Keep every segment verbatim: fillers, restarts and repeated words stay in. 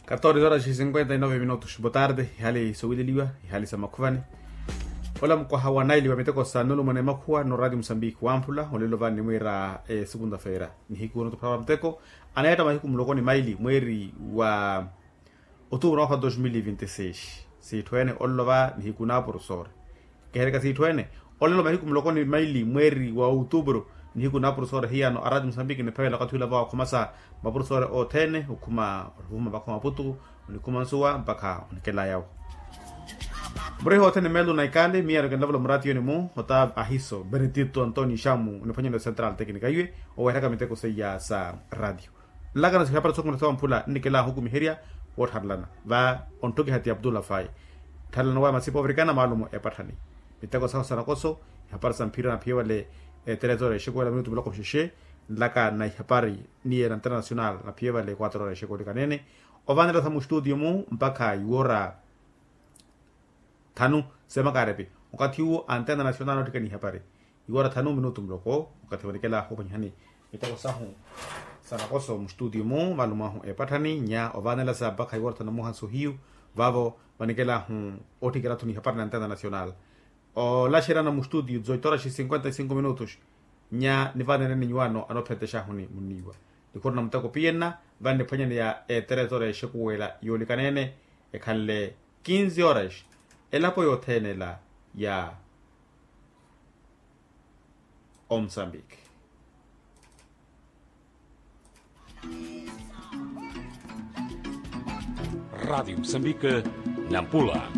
Katorze horas e cinquenta e nove minutos botarde. Ihali sowileliwa, ihali sa makhuvani. Ola mukwaha wa naili wa miteko sa nulumwene makhuwa no radio musambiki wamphula olelo vani nimwira e segunda feira nihiku noto phara wa miteko. Anayatta mahiku muloko ni maili mweri wa otubro mwaha dos mil vinti seis. Siitthu ene olelo va nihiku na profesor. Kehereka siitthu ene olelo mahiku muloko ni maili mweri wa outubro nihiku na profesor hiyano arati musambiki niphavela okathi ula va wakhumasa mapurusore othene okhuma oluvuma mpakha omaputu, onikhuma nsuwa mpakha onikela yawo. Muriho othene melu na ikali miya nokenlavula murati yoni mu ota ahiso benedito antoni shamu oniphwanyela central teknika iwe oweheraka miteko seiya sa radio. Nlakana sihapari sokhumela sawamphula nnikela ahukumiherya woottharelana va ontthukiha ti abdullah fai. Ttharelana waya masipa ovirikana maalumo epatthani miteko sahu sa nakoso. Ihapari sa mphira naphiye vale eterezo ra exekuwela minutu muloko mxexe. Nlaka na ihapari niye na international naphiye vale quatro horas exekuwela ikanene ovanela sa mustudio mu mpakha iwora thanu. Semakarepi okathi uwo antena national ottikani ihapari iwora thanu minutu muloko okathi vanikela ophwanyihani miteko sahu sa nakoso mustudio mu valumahu epatthani nya ovanela sa mpakha iwora thanu muhanso hiyu vavo vanikelahu otthikela-tho ni ihapari na antena national. Olaxerana mustudio zoitoraxi cinquenta e cinco minutos nya nivanene ni nyuwano anoophentexahuni muniiwa nikhuruna muteko piyenna vaniphwanyaneya eterezo ra exekuwela yoolikanene ekhanle quinze horas elapo yothene ela ya omsambiki. Radiyo musambiki nampula.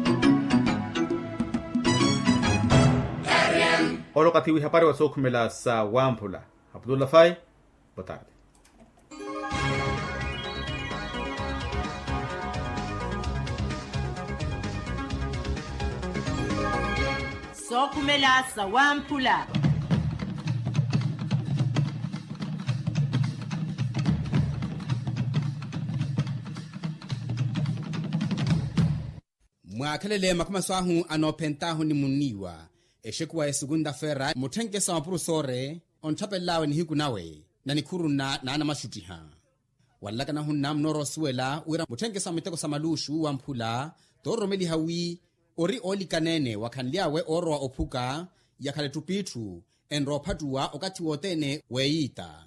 Olo okathi wihapari wa sookhumela sa wamphula. Abdullah fai. Botarde. Sookhumela sa wamphula. Mwaakhelele makhumaso ahu anoophent'ahu ni munniiwa exekuwa ya esukunta fera mutthenkeso wa mapurusore ontthapellawe nihiku nawe na nikhuruna n'anamaxuttiha. Wanlakana hunna munoorowa osuwela wira mutthenkeso wa miteko sa maluxu wamphula toororomeliha wi ori oolikaneene wakhanly'awe oorowa ophuka yakhale ettup'itthu enrowa ophattuwa okathi wothene weeyiita.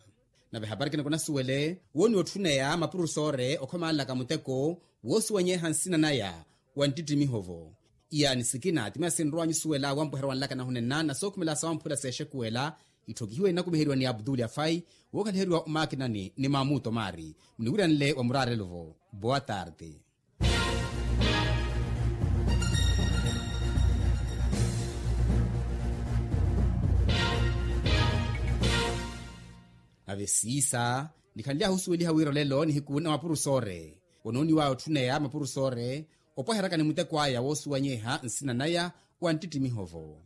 Nave ehapari kinoko nasuwele wooniwa otthuneya mapurusore okhomanlaka muteko woosuwanyeha nsina naya wa nttittimiho-vo. Iyaani sikina ti miya sinrowa nyusuwela wampweherya wanlakana hunenna na sookhumela sa wamphula s'exekuwela itthokihiwe inakumiheriwa ni abduli afai wookhaliheriwa omaakinani ni mamuto maari. Muniwiranle wa muraarelo-vo boa tarde. Nave siisa nikhanly'ahu osuweliha wira olelo nihiku na mapurusore onooniw'aya otthuneya mapurusore opwaheryaka ni muteko aya woosuwanyeha nsina naya wa nttittimiho-vo.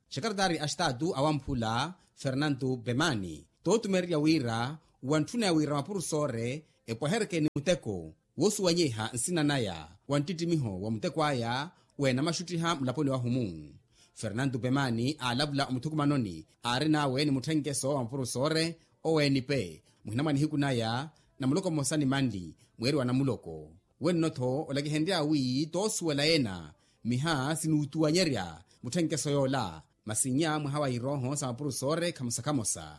Xekaretari a xtaatu awamphula fernanto pemani tootumererya wira wantthuneya wira mapurusore epwaheryeke ni muteko woosuwanyeha nsina naya wa nttittimiho wa muteko aya weenamaxuttiha mulaponi wahu-mu. Fernanto pemani aalavula omuthukumanoni aarin'awe ni mutthenkeso wa mapurusore oweenipe muhina mwa nihiku naya na muloko mmosa ni manli mweeri wa namuloko. Wenno-tho olakihenrya wi toosuwela ena miha sinuutuwanyerya mutthenkeso yoola masi nnya mwaha wa irooho sa mapurusore khamosa khamosa.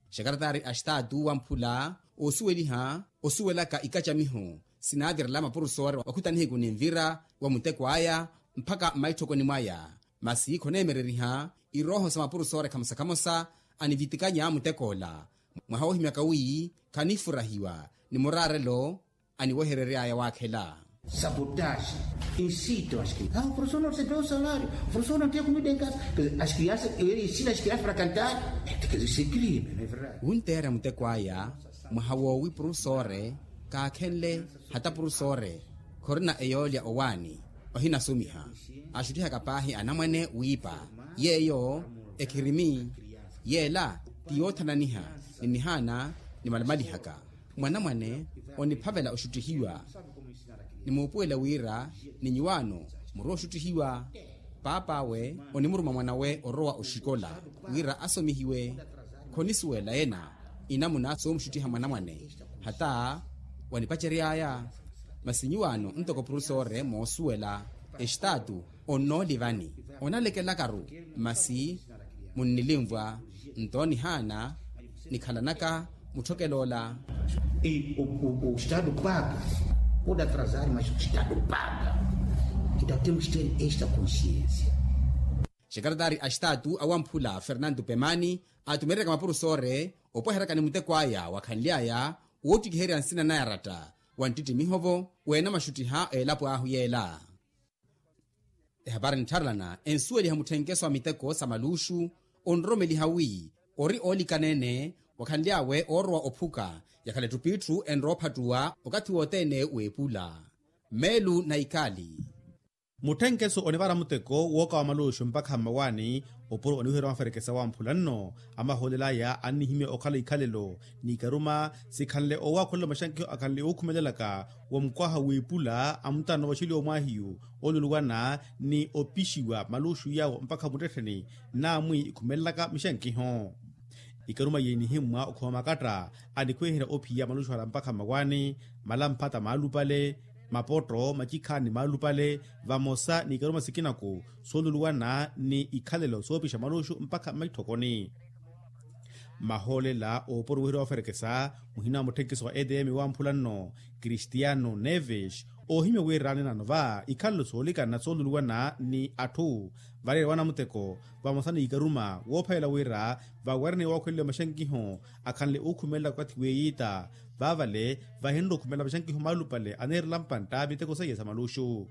Xekaretari a xtaatu wamphula oosuweliha osuwelaka ikacamiho sinaavirela mapurusore wakhuta nihiku ni nvira wa muteko aya mpakha mmaitthokoni mwaya masi khoneemereriha irooho sa mapurusore khamosa khamosa anivitikanya mutek'ola mwaha woohimyaka wi khanifurahiwa ni muraarelo aniweherery'aya waakhela. Sabotaxi, insito askri a profesor no recebeu salário profesor no tiya comida em casa. Askriansa eri ensina askriansa para cantar. Ente quer dizer se crime no é verdade? Wunteerya muteko aya mwaha woowi profesore kaakhenle hata profesore khorina eyoolya owaani ohinasomiha axuttihaka paahi anamwane wiipa yeeyo ekhirimi. Yeela ti yoothananiha ni nihaana nimalimalihaka mwanamwane oniphavela oxuttihiwa. Nimuupuwela wira ni nyuwaano murowa oxuttihiwa paap'awe onimuruma mwanawe orowa oxikola wira asomihiwe. Khonisuwela ena inamuna soomuxuttiha mwanamwane hata wanipacery'aya. Masi nyuwaano ntoko profesore moosuwela, estaatu onnoolivani, onalekelakaru masi munnilinvwa nto nihaana nikhalanaka mutthokeloola. E o estado paga pode atrasar mas o estado paga. Kita temos ter esta consciência. Xekaratari a estaatu awamphula fernanto pemani aatumereryaka mapurusore opweheryaka ni muteko aya wakhanly'aya woottikiherya nsina naya ratta wa nttittimiho-vo weenamaxuttiha elapo ahu yeela. Ehapari nttharelana ensuweliha mutthenkeso wa miteko sa maluuxu onroromeliha wi ori oolikaneene wakhanly'awe oorowa ophuka yakhala ettup'itthu enrowa ophattuwa okathi wothene w'epula. Meelu na ikali. Mutthenkeso onivara muteko wooka wa maluuxu mpakha mmawaani opuro oniwiherya wamferekesa wamphula nno. Amahoolel'aya annihimya okhala ikhalelo n'ikaruma sikhanle owaakhulela maxankiho akhanle ookhumelelaka wa mukwaha w'epula a mutano waxeliwa omwaahiyu ooluluwana ni opixiwa maluuxu yaawo mpakha muttettheni. Naamwi ikhumelelaka mixankiho ikaruma yeenihimmwa okhowa makatta anikhweherya ophiya maluxuhala mpakha mmawaani malamphata maalupale mapotto macikhaani maalupale vamosa n'ikaruma sikinaku sooluluwana ni ikhalelo soopixa maluxu mpakha mmaitthokoni. Mahoolela ooporo weherya waferekesa muhina wa mutthenkiso wa edm wamphula nno kristiano neves oohimya wira anenano va ikhalelo soolikana sooluluwana ni atthu valeerya wanamuteko vamosa n'ikaruma woophalela wira vawerene wookhweleliwa maxankiho akhanle ookhumelela okathi weiita vaavale vahinre okhumelela maxankiho maalupale aneerela mpantta miteko seiya sa maluxu.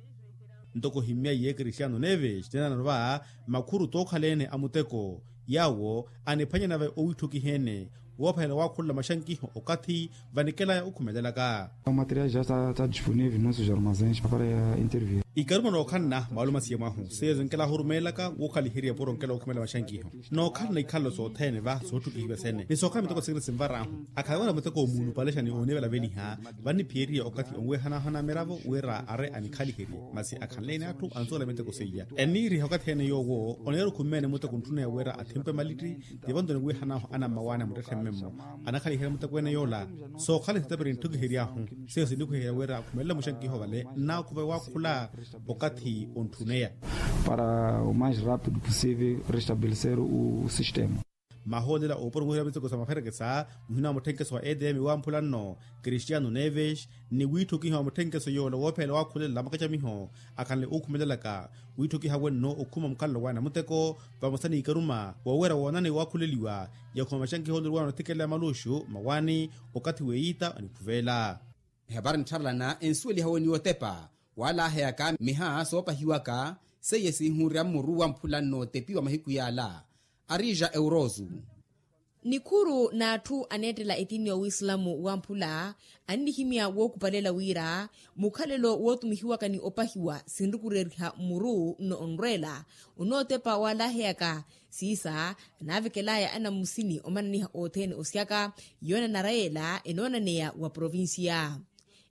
Ntoko ohimmya iye kristiano neves nenanano va makhuru tookhaleene a muteko yaawo aniphwanyana va owiitthokiheene woophalela waakhulela maxankiho okathi vanikelaya okhumelelaka. Material ja sa disponível nos armazéns para intervir. Ikaruma nookhalana maalumasiya mwahu seiya zinkela ahurumeelaka wookhaliherya puro nkela okhumela maxankiho nookhalana ikhalelo sothene va sootthukihiwa sene ni sookhala miteko sikina sinvar'ahu akhala wira muteko omuulupalexa ni oonivelaveliha vanniphiyeriya okathi onwehanahana miravo wira are anikhaliherye masi akhanle-ene atthu ansuwela miteko seiya enniiriha okathi ene yoowo oneera okhumeene muteko ntthuneya wira athimpwe malitti. Tivo nto niwihan'ahu anammawaani a muttetthe mmemmo anakhaliherya muteko ene yoola sookhala ni sitapiri ntthukihery'ahu seiyo sinnikhweherya wira akhumelela muxankiho vale nnaakhuva waakhula okathi ontthuneya para o mais rápido possível restabelecer o sistema. Mahoolela ooporo muhira miteko sa maferekesa muhina wa mutthenkeso wa edm wamphula nno kristiano neves ni wiitthokiha wa mutthenkeso yoola woophelela waakhulelela makacamiho akhanle ookhumelelaka wiitthokiha wenno okhuma mukhalelo wawe na muteko vamosa n'ikaruma woowerya woonani waakhuleliwa yakhuma maxankiho oluliwana othikela ya maluxu mawaani okathi weiita onikhuvela. Ehapari nttharelana ensuweliha weniwa otepa waalaheyaka miha soopahiwaka seiye sinhunrya mmuru wamphula nnootepiwa mahiku yaala. Arija eurosu. Nikhuru n'atthu aneettela etiini ya wislamu wamphula annihimya wookupalela wira mukhalelo wootumihiwaka ni opahiwa sinrukureriha mmuru nno onrweela onootepa waalaheyaka siisa anaavekel'aya anammusini omananiha othene osyaka yoonanara yeela enoonaneya wa provincia.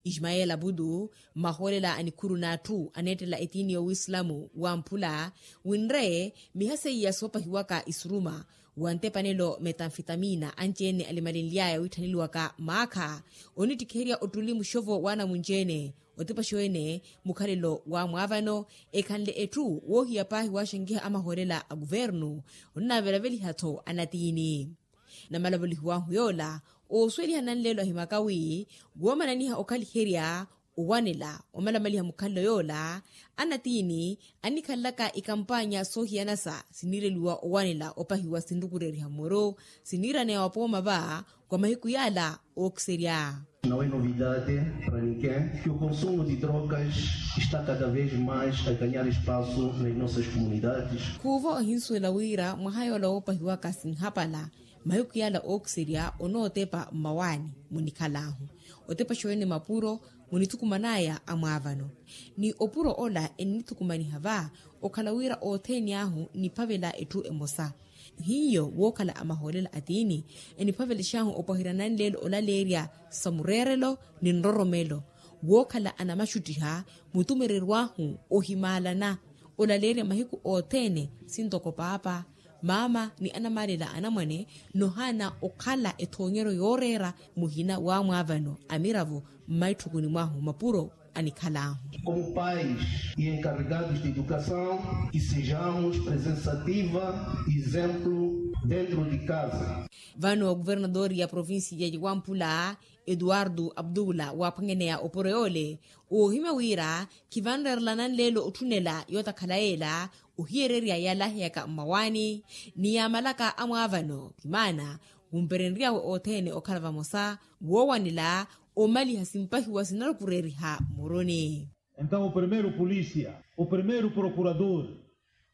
Ismael abudu mmahoolela a nikhuru n'atthu aneettela etiini ya wislamu wamphula winre miha seiya soopahiwaka isuruma wa ntepanelo metanfitamina anci-ene alimalenly'aya wiitthaneliwaka maakha onittikiherya ottuli muxovo w'anamunci-ene otepaxo-ene mukhalelo wa mwaavano ekhanle etthu woohiya paahi waaxankiha amahoolela a kuvernu onnavelaveliha-tho anatiini. Namalavolihiw'ahu yoola oosuweliha nanleelo ahimaka wi woomananiha okhaliherya owanela omalamaliha mukhalelo yoola anatiini annikhalelaka ikampaanya soohiyanasa siniireliwa owanela opahiwa sinrukureriha mmuru siniiraneya wa pooma va kwa mahiku yaala ookiserya. Não é novidade para ninguém que o consumo de drogas está cada vez mais a ganhar espaço nas nossas comunidades. Khuuvo ohinsuwela wira mwaha yoola woopahiwaka sinhapala mahiku yaala ookiserya onootepa mmawaani munikhal'ahu otepaxa-ene mapuro munithukuman'aya amwaavano ni opuro ola ennithukumaniha va okhala wira othene ahu niphavela etthu emosa hiyo wookhala amahoolela atiini eniphavelex'ahu opwahirya nanleelo olaleerya sa mureerelo ni nroromelo wookhala anamaxuttiha mutumereryo ahu ohimaalana olaleerya mahiku othene sintoko paapa maama ni anamaalela anamwane nohaana okhala ethoonyeryo yooreera muhina w'amwaavano a miravo mmaitthukuni mwahu mapuro anikhala ahu. Como pais e encarregados de educação, que sejamos presença ativa, exemplo dentro de casa. Vano governador ya provincia ya wamphula, eduardo abdula waaphwanyaneya oporo yoole, oohimya wira khivanreerelana nleelo otthunela yootakhala yeela, ohiyererya yaalaheyaka mmawaani ni yaamalaka amwaavano kimaana, wumperenryawe othene okhala vamosa woowanela omaliha simpahiwa sinarukureeriha muruni. Entaw o primeiro polícia, o primeiro prokurador,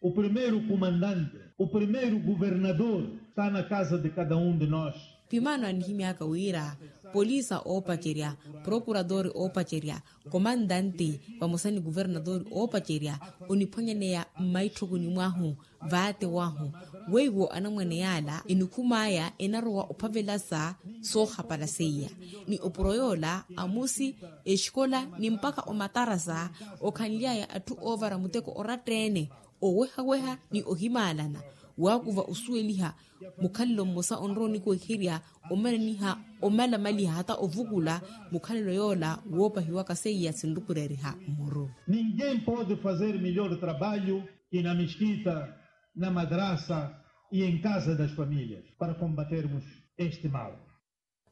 o primeiro kumandante, o primeiro guvernador, sta na kaza de kada um de nos. Pimaano anihimyaka wira polisa oopacerya, prokuradori oopacerya, komandante vamosa ni guvernadori oopacerya oniphwanyaneya mmaitthokoni mwahu. Vaatewahu weiwo anamwane yaala enikhum'aya enarowa ophavelasa soohapala seiya, ni opuro yoola amusi, exikola ni mpakha omatarasa okhanly'aya atthu oovara muteko oratta-ene, owehaweha ni ohimaalana, waakuva osuweliha mukhalelo mmosa onrowa onikweherya omananiha omalamaliha hata ovukula mukhalelo yoola woopahiwaka seiya sinrukureeriha mmuru. Ninguém pode fazer melhor trabalho que na mesquita, na madrasa e em casa das famílias para combatermos este mal.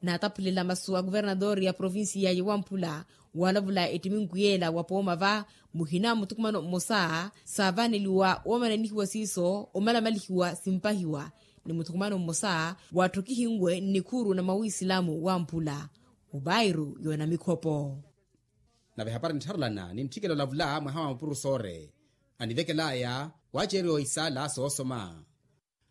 Naataphulela masu a kuvernador ya provincia ya wamphula, waalavula ettiminku yeela wa pooma va muhina muthukumano mmosa saavaneliwa woomananihiwa siiso omalamalihiwa simpahiwa, ni muthukumano mmosa waatthokihinwe nnikhuru na mawisilamu wamphula, mubairu yoona mikhopo. Nave hapari nttharelana ni ntthikela olavula mwaha wa mapurusoore anivekel'aya waaceeriwa isaala soosoma.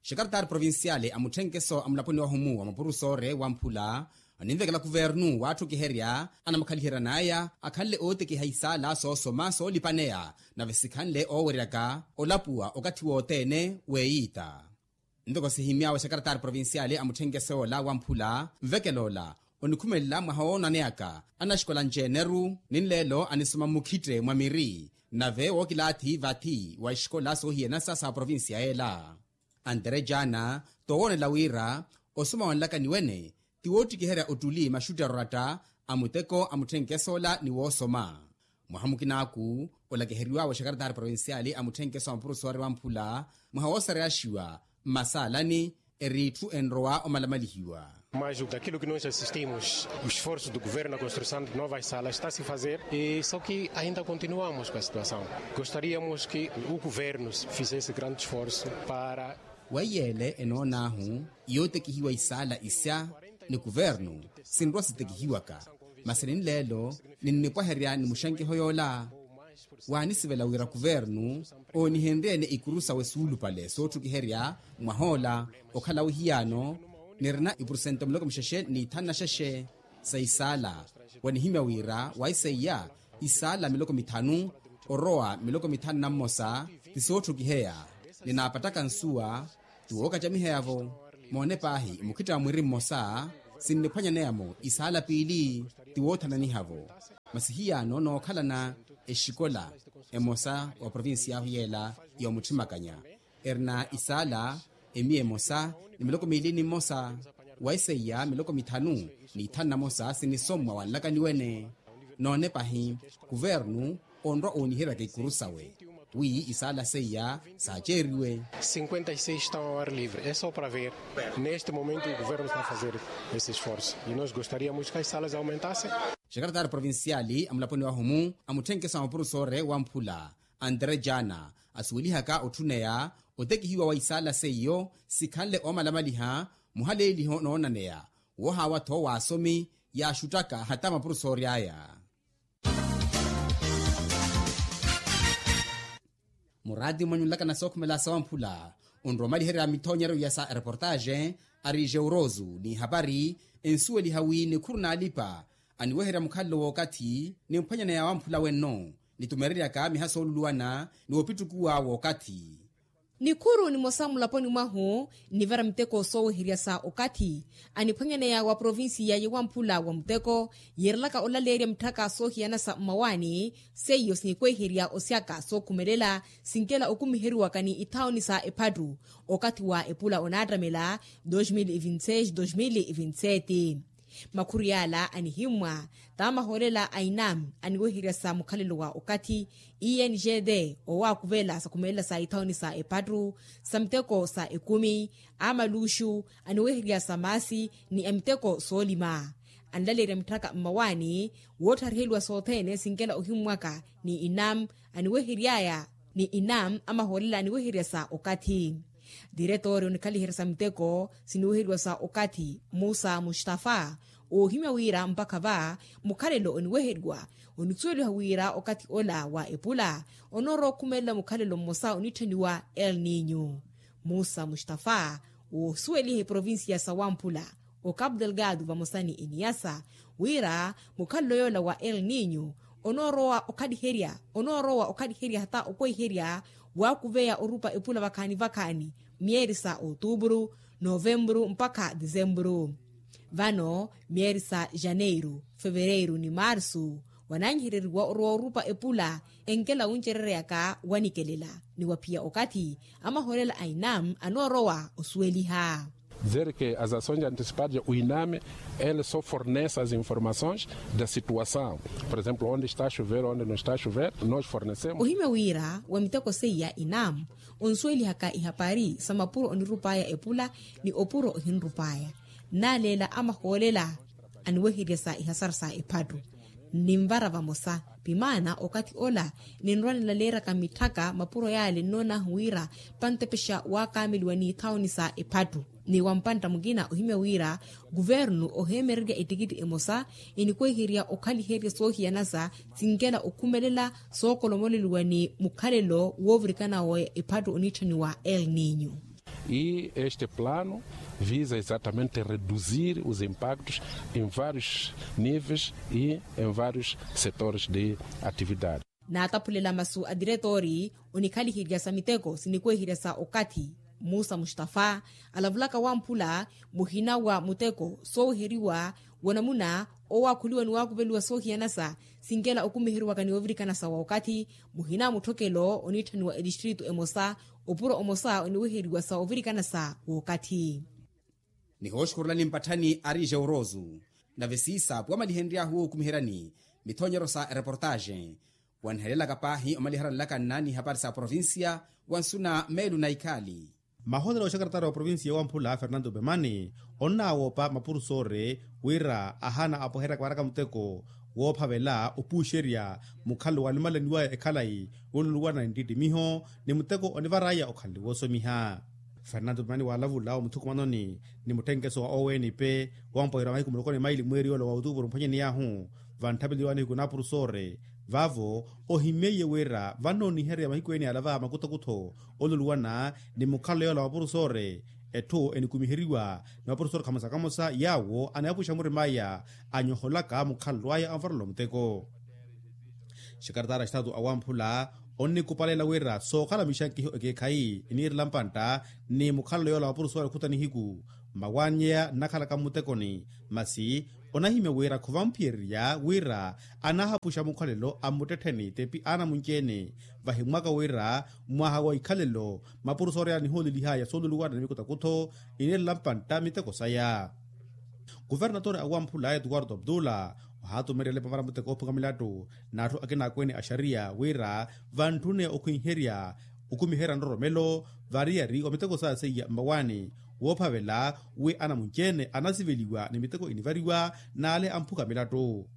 Xekaretari provinciale a mutthenkeso a mulaponi wahumu wa mapurusoore wamphula aninvekela kuvernu waatthokiherya anamukhaliheryan'aya akhanle ootekiha isaala soosoma soolipaneya, nave sikhanle ooweryaka olapuwa okathi wothene. Weeyiita ntoko sihimy'awe xekaretari provinciale a mutthenkeso yoola wamphula, nvekel'ola onikhumelela mwaha woonaneyaka anaxikola nceneru ni nleelo anisoma mmukhitte mwa miri, nave wookilaathi vathi wa exikola soohiyanasa sa provincia yeela. Antere jaana toowoonela wira osoma wanlaka ni wene ti woottikiherya ottuli maxutti aroratta a muteko a mutthenkeso ola ni woosoma. Mwaha mukinaaku olakiheriw'awe xekaretari provinciale a mutthenkeso a mapurusoore wamphula mwaha woosareyaxiwa mmasaalani, eri itthu enrowa omalamalihiwa. Mas daquilo que nós assistimos o esforço do governo na construção de novas salas está se fazer e só que ainda continuamos com a situação. Gostaríamos que o governo fizesse grande esforço para. Weiyeele enoon'ahu yootekihiwa isaala isya ni kuvernu sinrowa sitekihiwaka, masi ninleelo ninnipwaherya ni muxankeho yoola. Waanisivela wira kuvernu oonihenrye-ene ikuru sawe suulupale sootthukiherya mwah'ola okhala wihiyaano nirina ipurusento miloko mixexe n'ithanu na xexe sa isaala. Wanihimya wira waiseiya isaala miloko mithanu orowa miloko mithanu na mmosa ti sootthukiheya. Ninaapattaka nsuwa ti wookacamiheya-vo. Moone paahi mukhitta wa mwiri mmosa sinniphwanyaneya-mo isaala piili ti woothananiha-vo. Masi hiyaano nookhalana exikola emosa wa provincia ahu yeela ya omuthimakanya erina isaala emiya emosa ni miloko miili ni mmosa waiseiya miloko mithanu n'ithanu na mosa sinisommwa wanlaka ni wene. Noone pahi kuvernu onrwa ooniheryaka ikuru sawe wi isaala seiya saaceeriwe. Cinquenta e seis estão ao ar livre é só para ver. Neste momento o governo está a fazer esse esforço e nós gostaríamos que as salas aumentassem. Xekaretari provinciale a mulaponi wahumu a mutthenkeso a mapurusoore wamphula antere jaana asuwelihaka otthuneya otekihiwa wa isaala seiyo sikhanle oomalamaliha muhaleeliho noonaneya woohaawa-tho w'asomi yaaxuttaka hata mapurusoori aya. Muraati mwanyu nlaka na sookhumela sawamphula onrowa omaliherya mithoonyeryo ya sa ereportaaxe ari jeurosu n'ihapari ensuweliha wi nikhuru n'alipa aniweherya mukhalelo w'okathi nimphwanyaneya wamphula wenno nitumereryaka miha sooluluwana ni wopittukuwa w'okathi. Nikhuru nimosa mulaponi mwahu nnivara miteko sooweherya sa okathi aniphwanyaneya wa provincia ya wamphula wa muteko yiirelaka olaleerya mitthaka soohiyana sa mmawaani. Seiyo sinikweherya osyaka sookhumelela sinkela okumiheriwaka ni ithaoni sa ephattu okathi wa epula onaattamela dois mil e vinte e seis dois mil e vinte e sete. Makhuriyala anihimmwa, tamahoolela a inam aniweheryasa mukhalelo wa okathi, i n g d owaakuvela sakhumelela sa ithawuni sa ephattu, sa miteko sa ekumi, a maluuxu aniweheryasa maasi, ni a miteko soolima. Anlaleerya mitthaka mmawaani woothariheliwa sothene sinkela ohimmwaka, ni inam aniweheryaya ni inam amahoolela aniweheryasa okathi. Diretoori onikhaliheryasa miteko siniweheriwa sa okathi, musa mustafa, oohimya wira mpakha va mukhalelo oniweheriwa, onisuweliha wira okathi ola wa epula onoorowa okhumelela mukhalelo mmosa onitthaniwa el ninyu. Musa mustafa, woosuweliha eprovincia sa wamphula, o capu delgado vamosa ni eniyasa, wira mukhalelo yoola wa el ninyu onoorowa okhaliherya onoorowa okhaliherya hata okweherya, waakuveya orupa epula vakhaani vakhaani myeeri sa otupuru, novempuru mpakha disempuru. Vano myeeri sa janeiru, fevereiru ni marsu, wananyihereriwa orowa orupa epula enkela wuncerereyaka wanikelela, ni waphiya okathi amahoolela a inam anoorowa osuweliha. Dizer ke as ações antecipadas o iname ele só fornece as informações da situação, por exemplo onde está a chover onde não está a chover, nós fornecemos. Ohimya wira wa miteko seiya inam onsuwelihaka ihapari sa mapuro onirupaya epula, ni opuro ohinrupaya, naleela amahoolela aniweheryasa ihasara sa ephattu. Ninvara vamosa, pimaana okathi ola ninrwa nilaleeryaka mitthaka mapuro yaale nnoon'ahu wira pantepexa waakaameliwa n'ithawuni sa ephattu. Ni wampantta mukina ohimya wira kuvernu oheemererya ettikitti emosa enikweherya okhaliherya soohiyanasa sinkela okhumelela sookolomoleliwa ni mukhalelo woovirikana wa ephattu oniitthaniwa el ninyu. E este plano visa exatamente reduzir os impactos em vários níveis e em vários setores de atividade. Naataphulela masu a diretoori onikhaliherya sa miteko sinikweherya sa okathi, musa mustafa, alavulaka wamphula muhina wa muteko sooweheriwa wanamuna owaakhuliwa ni waakuveliwa soohiyanasa sinkela okumiheriwaka ni ovirikanasa wa okathi, muhina mutthokelo oniitthaniwa etistritu emosa, opuro omosa oniweheriwa sa ovirikanasa w'okathi. Nihooxukhurulani mpatthani ari jeurosu. Nave siisa puwamalihenry'ahu okumiheryani mithonyero sa ereportaxe, wanhelelaka paahi omaliharanlaka nnaani hapari sa provincia, wansuna meelu na ikhaali. Mahootela oxakaratara wa provincia wamphula fernando pemani, onnaawoopa mapurusore wira ahaana apoheryaka waraka muteko woophavela opuuxerya mukhalelo walimalaniwaya ekhalayi, woluluwana ni nttittimiho ni muteko onivaraya okhalelo woosomiha. Fernando pemani waalavula omuthukumanoni ni mutthenkeso wa owenipe, wampoherya mahiku muloko ni maili mweeri yoola wa otuupuru mphwanyeni yaahu, vantthapeliwani hiku na purusore. Vaavo ohimeiye wira vannooniherya mahiku ene yalava makuthokutho oluluwana ni mukhalelo yoola wa purusore, etthu enikumiheriwa ni mapurusore kamosa kamosa yaawo anayapuxa murim'aya anyoholaka mukhalelo aya anvarela omuteko. Xikaratara xitaatu awamphula onnikupaleela wira sookhala mixankiho ekeekhayi iniirela mpantta ni mukhalelo yoola wa purusore khuta nihiku, mmawaanyeya nnakhalaka mmutekoni. Masi onahimya wira khovamphiyererya wira anahapuxa mukhalelo a mmuttettheni tepi anamunci-ene. Vahimwaka wira mmwaha wa ikhalelo mapurusore anihoolelihaya sooluluwana ni mikutakutho iniirela mpantta miteko saya. Kuvernatore awamphula etuwarto abdula ohaatumeryela epavara muteko oophuka milattu n'atthu akina akweene a xariya wira vantthune okhwinherya okumiherya nroromelo variyari wa miteko saya seiya mmawaani, woophavela wi anamunci-ene anasiveliwa ni miteko inivariwa n'ale amphuka milattu.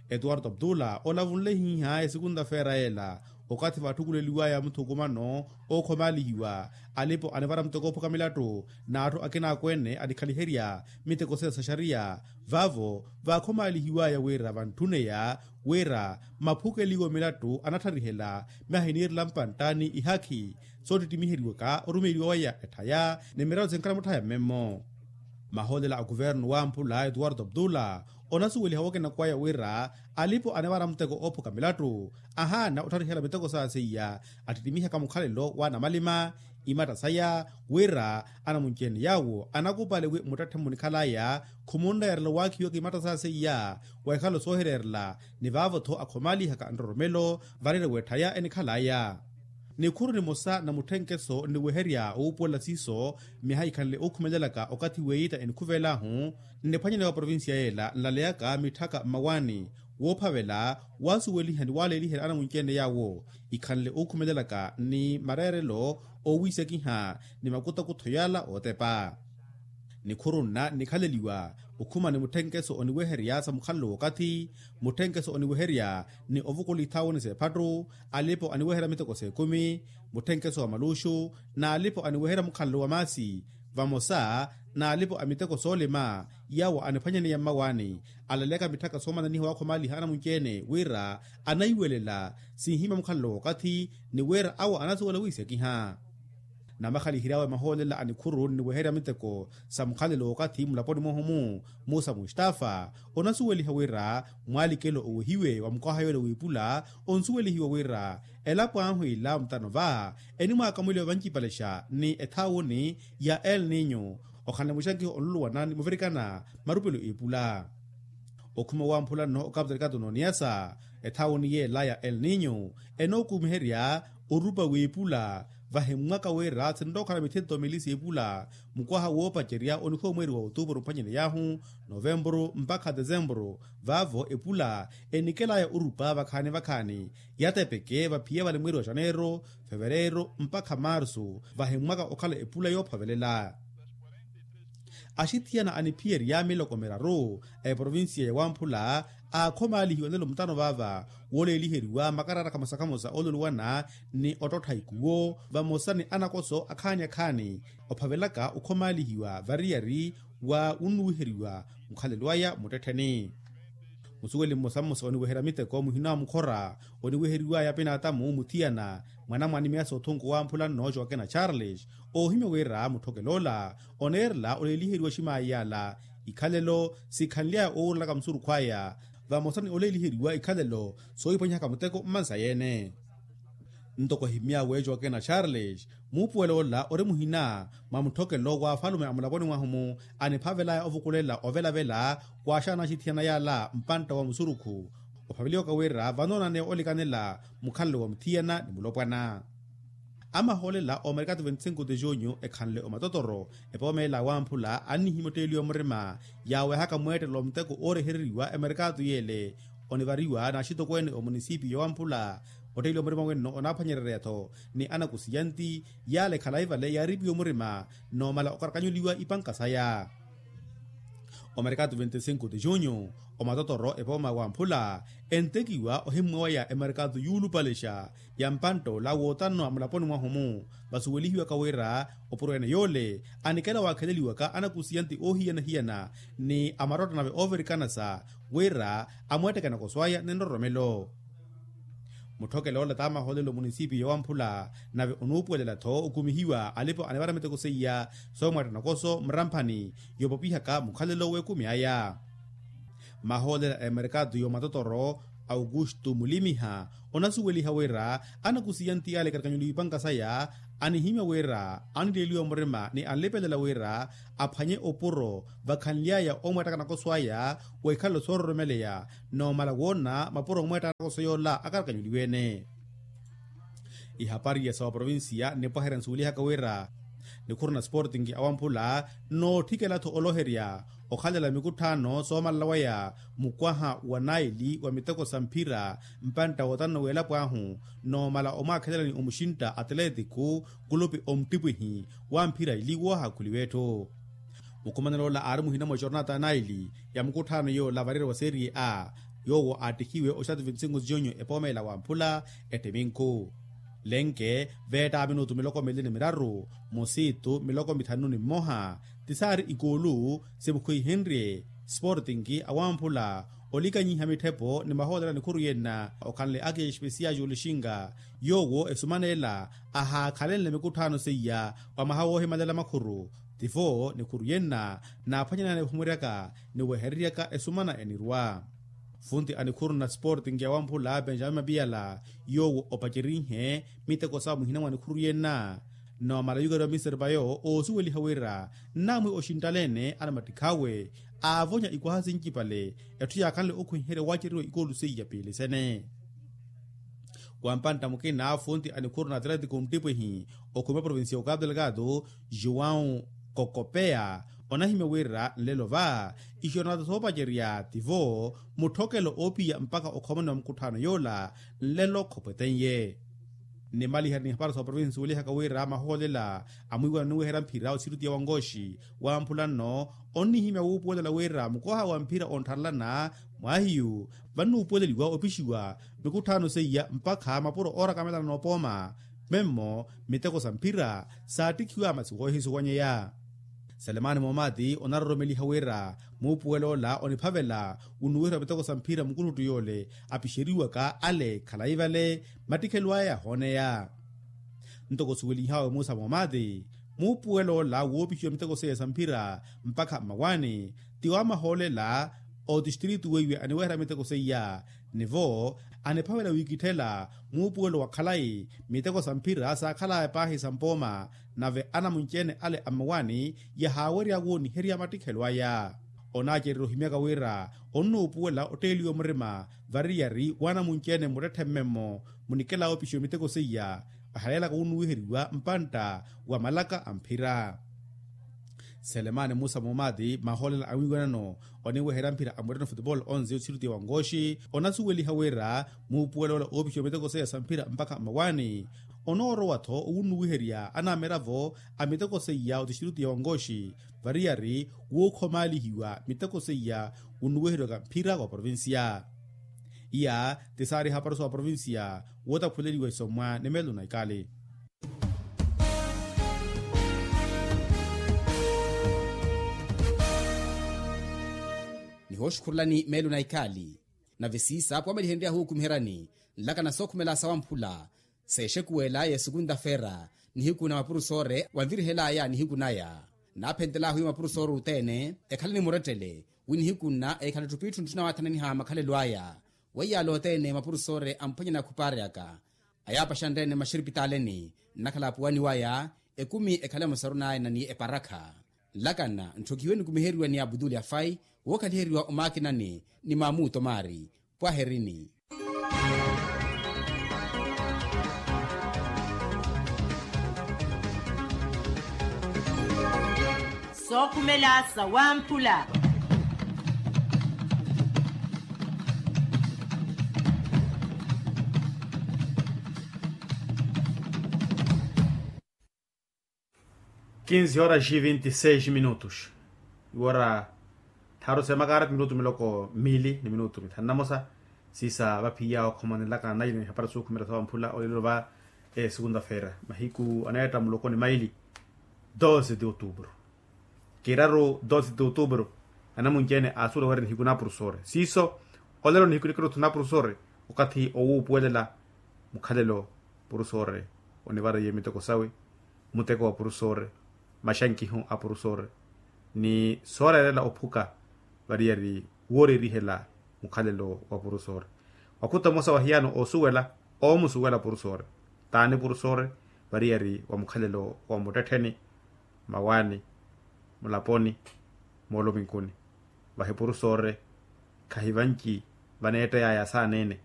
Etuwarto abdula olavunle hiiha esikunta-feera yeela okathi vatthukuleliwaya muthukumano ookhomaalihiwa, alipo anivara muteko oophuka milattu n'atthu akina akweene anikhaliherya miteko seya sa xariya. Vaavo vaakhomaalihiwaya wira vantthuneya wira maphukeliwo milattu anatharihela myaha iniirela mpantta ni ihakhi soottittimiheryaka orumeyeriwa waya etthaya ni miraru sinkhala mutthaya mmemmo. Mahoolela a kuvernu wamphula etuwarto abdula onasuweliha wookinaka waya wira alipo anivara muteko oophuka milattu ahaana ottharihela miteko saya seiya attittimihaka mukhalelo w'anamalima imatta saya wira anamunci-ene yaawo anakupale wi mmuttetthe mmunikhalaya khumunreyerela owaakhiwaka imatta saya seiya wa ikhalo soohireerela ni vaavo-tho akhomaalihaka nroromelo vareere w'etthaya enikhalaya. Nikhuru nimosa na mutthenkeso nniweherya owuupuwela siiso myaha ikhanle ookhumelelaka okathi w'eyiita enikhuvel'ahu, nniphwanyaniwa provincia yeela nlaleyaka mitthaka mmawaani woophavela waasuweliha ni waleeliherya anamunci-ene yaawo ikhanle ookhumelelaka ni mareerelo oowiisekiha ni makutakutho yaala ootepa. Nikhuru nna nnikhaleliwa okhuma ni mutthenkeso oniweherya sa mukhalelo w'okathi, mutthenkeso oniweherya ni ovukula ithaawoni s'ephattu, alipo aniweherya miteko s'ekumi, mutthenkeso wa maluuxu, n'alipo aniweherya mukhalelo wa maasi, vamosa n'alipo a miteko soolima yaawo aniphwanyaniya mmawaani, alaleyaka mitthaka soomananiha waakhomaliha anamunci-ene wira anaiwelela sinhimya mukhalelo w'okathi, ni wira awo anasuwela wiisekiha. Namakhalihiry'awe mahoolela a nikhuru nniweherya miteko sa mukhalelo w'okathi mulaponi mwahu-mu, musa mustafa, onasuweliha wira mwalikelo owehiwe wa mukwaha yoole w'ipula, onsuwelihiwa wira elapo ahu ila mutano va enimwaakamweliwa vancipalexa ni ethaawoni ya el ninyo, okhanle muxankiho onluluwana ni muvirikana marupelo ipula. Okhuma wamphula nno okapu tarikatu n'oniyasa, ethaawoni yeela ya el ninyo enookumiherya orupa w'ipula, vahimmwaka wira sinrookhala mithento mili s'ipula mukwaha woopacerya onikhwa omweeri wa otuupuru mphwanyani yaahu novempuru mpakha desempuru. Vaavo epula enikel'aya orupa vakhaani vakhaani, yatepeke vaphiya vale mweeri wa xaneero, fevereero mpakha marsu, vahimmwaka okhala epula yoophovelela. Axithiyana aniphiyerya miloko miraru a eprovincia ya wamphula aakhomalihiwa nlelo mutano vaava, wooleeliheriwa makarata khamosa khamosa oololuwana ni ottottha ikuwo vamosa ni anakoso akhaani akhaani, ophavelaka okhomalihiwa variyari wa wunnuwiheriwa mukhalelo aya muttettheni. Musuweli mmosa mmosa oniweherya miteko muhina wa mukhora oniwiheriwaya pinaatamu muthiyana mwanamwani miyasa othunku wamphula nno joakena charles, oohimya wira mutthokel'ola oneerela oleeliheriwa ximaayi yala ikhalelo sikhanly'aya owurelaka musurukhu aya, vamosa ni oleeliheriwa ikhalelo soohiphwanyihaka muteko mmansa yeene. Ntoko ehimy'awe joakena charles, muupuwel'ola ori muhina mwa mutthokelo w'afalume a mulaponi mwahu-mu, aniphavel'aya ovukulela ovelavela waaxaana axithiyana yala mpantta wa musurukhu, ophaveliwaka wira vanoonane olikanela mukhalelo wa muthiyana ni mulopwana. Amahoolela omerkatu veinticinco de junho ekhanle omatotoro, epoomela wamphula annihimya otteeliwa murima yaawehaka mweettelo wa muteko oorehereriwa emerkatu yeele, onivariwa n'axitokweene omunisipiyo wamphula. Otteeliwa murima wenno onaaphwanyererya-tho ni anakusiyanti, yale khalayi vale yaaripiwe murima noomala okarakanyuliwa ipanka saya. Omerkatu veinticinco de junho, omatotoro epooma wamphula entekiwa ohimmwawaya emerkatu yuulupalexa ya mpantt'ola wootano a mulaponi mwahu-mu, vasuwelihiwaka wira opuro ene yoole anikela waakheleliwaka anakusiyanti oohiyana-hiyana ni amarotto nave oovirikanasa wira amweetteke anakoso aya ni nroromelo. Mutthokele ola t'amahoolelo munisipiyo wamphula nave onuupuwelela-tho okumihiwa alipo anivara miteko seiya soomweetta nakoso muramphani yoopopihaka mukhalelo w'ekumi aya. Mahoolela a emerkatu y'omatotoro aukustu mulimiha onasuweliha wira anakusiyanti ale karakanyuliwa ipanka saya anihimya wira anileliwa murima ni anlipelela wira aphwanye opuro vakhanly'aya omweettaka nakoso aya w'ikhalelo soororomeleya noomala woona mapuro omweettaka nakoso yoola akarakanyuliwe-ene. Ihapari ya sawa provincia nnipwaherya nsuwelihaka wira nikhuru na sporting awamphula nootthikela-tho oloherya okhalela mikutthaano soomalela waya mukwaha wa naili wa miteko sa mphira mpantta wotanno w'elapo ahu noomala omwaakhelelani omuxintta atleetiku kulupi omttipwihi wa mphira ili woohaakhuliwa etthu. Mukhumanelo ola aari muhina mwa jornata ya naili ya mukutthaano yoola variyari wa serie a yoowo aattihiwe oxatu veinticinco junho epoomela wamphula ettiminku lenke veetta minutu miloko mili ni miraru musiitu miloko mithanu ni mmoha tisaari ikoolu simukhwihenrye sporting awamphula olikanyiha mitthepo ni mahoolera nikhuru yenna okhanle akiya espesiya julixinga yoowo esumaneela ahaakhalenle mikutthaano seiya wa mwaha woohimalela makhuru tivo nikhuru yenna naaphwanyanani ephumuryaka ni wehereryaka esumana enirwa. Funti a nikhuru na sporting awamphula benjamin mapiyala yoowo opacerinhe miteko sawo muhina mwa nikhuru yenna noomala yukariwa mister payo oosuweliha wira nnamwi oxinttaleene anamattikhawe aavonya ikwaha sincipale etthu yaakhanle okhwiherya waaceriwa ikoolu seiya piilisene. Wa mpantta mukina funti a nikhuru na atletiko nttipwihi okhuma provincia ya okapu delgado, joão kokopeya, onahimya wira nlelo va ixiyo nata soopacerya tivo mutthokelo oopiya mpakha okhomani wa mukutthaano yoola nlelo khopwetenye. Nnimaliherya ni hapari sa oprovinsi suwelihaka wira mahoolela amwiiwana oniweherya mphira osirutiya wa nkooxi wamphula nno, onnihimya wuupuwelela wira mukoha wa mphira onttharelana mwahiyu vannuupuweleliwa opixiwa mikutthaano seiya mpakha mapuro oorakamela noopooma memmo miteko sa mphira saattikhiwa masi woohisuwanyeya. Selemani moomati onaroromeliha wira muupuwelo ola oniphavela wunuwiheriwa miteko sa mphira mukuttuttu yoole apixeriwaka ale khalayi vale mattikhelo aya yahooneya. Ntoko suwelinhawe musa moomati muupuwelo ola woopixiwa miteko seiya sa mphira mpakha mmawaani ti wa mahoolela otistritu weiwe aniweherya miteko seiya nivo aniphavela wiikitthela muupuwelo wa khalayi miteko sa mphira saakhalaya paahi sa mpooma nave anamunci-ene ale a mmawaani yahaawerya wooniherya mattikhelo aya. Onaacererya ohimyaka wira onnuupuwela otteeliwa murima variyari w'anamunci-ene mmuttetthe mmemmo munikela oopixiwa miteko seiya ahaleelaka wunnuwiheriwa mpantta wa malaka a mphira. Selemani musa moomati mahoolela a mwiiwanano oniweherya mphira a mureno futebol onse othirutiya wa nkooxi onasuweliha wira muupuwelo ola oopixiwa miteko seiya sa mphira mpakha mmawaani onoorowa-tho owunnuwiherya anamiravo a miteko seiya otistritiya wa nkooxi variyari wookhomaalihiwa miteko seiya wunnuwiheriwaka mphira wa provincia. Iya ti saari hapari sa oprovincia wootaphuleliwa isomwa ni meelo na ikali. Nihooxukhurelani meelo na ikali. Nave siisa pwamelihenryahu okumiheryani nlakana sookhumela sawamphula seexekuwela ya esukunta feera nihiku na mapurusore wanvirihelaya nihiku naya. Naaphentelaahu wi mapurusore othene ekhaleni murettele wi nihiku nna ekhale ettupittu ntthuna waathananiha makhalelo aya. Weiyaala othene mapurusore amphwanyana khupaareyaka ayaapaxanrene maxiripitaaleni nnakhala apuwani waya ekumi ekhale musarunayana ni eparakha. Nlakana ntthokihiwe nikumiheriwa ni abutuli afai wookhaliheriwa omaakinani ni maamuto maari. Pwaherini. Sookhumela sawamphula. Kinsi horas e vinte e seis minutos. Iwora tharu semakara ti minutu miloko mili ni minutu mithanu na mosa. Siisa vaphiya okhomanelaka naili ni hapari sookhumela sawamphula olelo va esukunta feera mahiku aneetta muloko ni maili. Doze de outubro. Kiraru doze de outubro. Anamunci-ene aasuwela wira nihiku na purusore siiso olelo nihiku nikiruthu na purusore okathi owuupuwelela mukhalelo purusore onivariye miteko sawe. Muteko wa purusore maxankihu a purusore ni sooreerela ophuka variyari woorerihela mukhalelo wa purusore. Wakhuta omosa wahiyano oosuwela oomusuwela purusore taani purusore variyari wa mukhalelo wa muttettheni mmawaani mulaponi moolominkuni. Vahi purusore khahi vanci vaneetteyaya saaneene